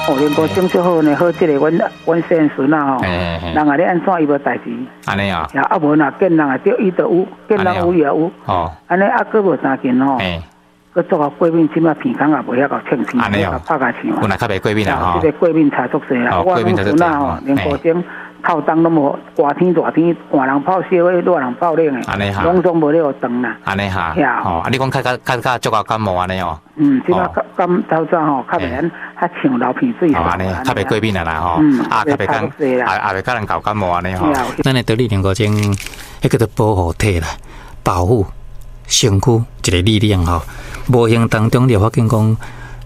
哦，龍骨精足好呢，好這個阮阮細漢孫仔吼，人啊咧按怎伊無代誌。按呢啊。啊無若見人會著伊就有，見人有伊也有。按呢啊，閣無相近吼。閣做予過敏，這擺鼻孔也袂曉夠清氣，袂拍甲唱。本來較袂過敏啊吼。這個過敏差足濟啦。我阮孫仔吼，龍骨精透冬攏無，寒天熱天，寒人泡燒的，熱人泡冷的，攏總無咧予斷啦。按呢哈。哦，啊你講較較較較足夠感冒按呢哦。嗯，這擺感透早吼，較袂按較像流鼻水。哦，按呢，較袂過敏啊啦吼。啊，較袂講，也也袂佮人搞感冒按呢吼。咱的得力龍骨精，彼叫做保護體啦，保護身軀一個力量吼。無形當中你會發現講，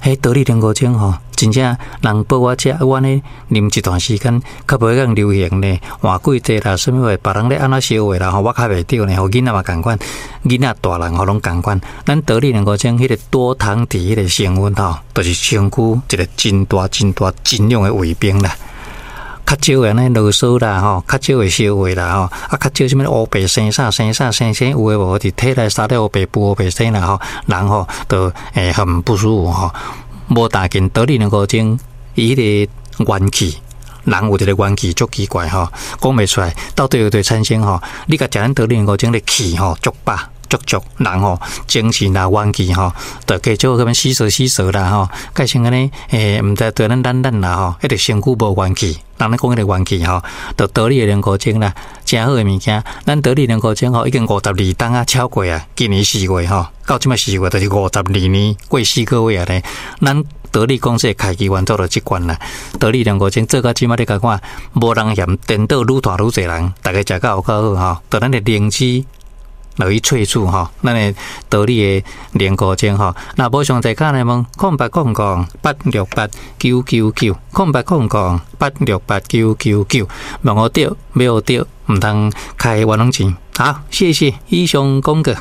彼得力龍骨精吼，真正人報我食，我按呢啉一段時間，較袂咁流行呢。換季節啦，啥物話，別人咧按怎燒話啦吼，我較袂著呢。予囡仔嘛仝款，囡仔大人吼攏仝款。咱得力龍骨精彼個多糖體彼個成分吼，就是身軀一個真大真大真勇的衛兵啦。較少會按呢囉嗦啦吼，較少會燒話啦吼，啊較少啥物烏白生啥生啥生生有的無的，佇體內啥咧烏白布烏白生啦吼，人吼就會很不舒服吼。無大緊得力龍骨精，伊彼個元氣，人有一個元氣足奇怪吼，講袂出來，到底有佗產生吼？你共食咱得力龍骨精的氣吼足飽。足足人吼精神啦元氣吼，就加少咁樣死索死索啦吼，改成按呢，毋知對咱懶懶啦吼，彼個身軀無元氣，人咧講彼個元氣吼，就得力的龍骨精啦，誠好的物件。咱得力龍骨精吼，已經52冬啊超過啊，今年4月吼，到這擺四月就是52年過4個月啊咧。咱得力公司的開機原做到這款啦，得力龍骨精做到這擺你共看，無人嫌顛倒愈大愈濟人，逐家食甲有夠好吼，就咱的靈芝。落去萃取吼，咱的得力的龍骨精吼。若無詳細敲來問0800868999，0800868999，問予著，欲學著，毋通開冤枉錢。好，謝謝，以上廣告。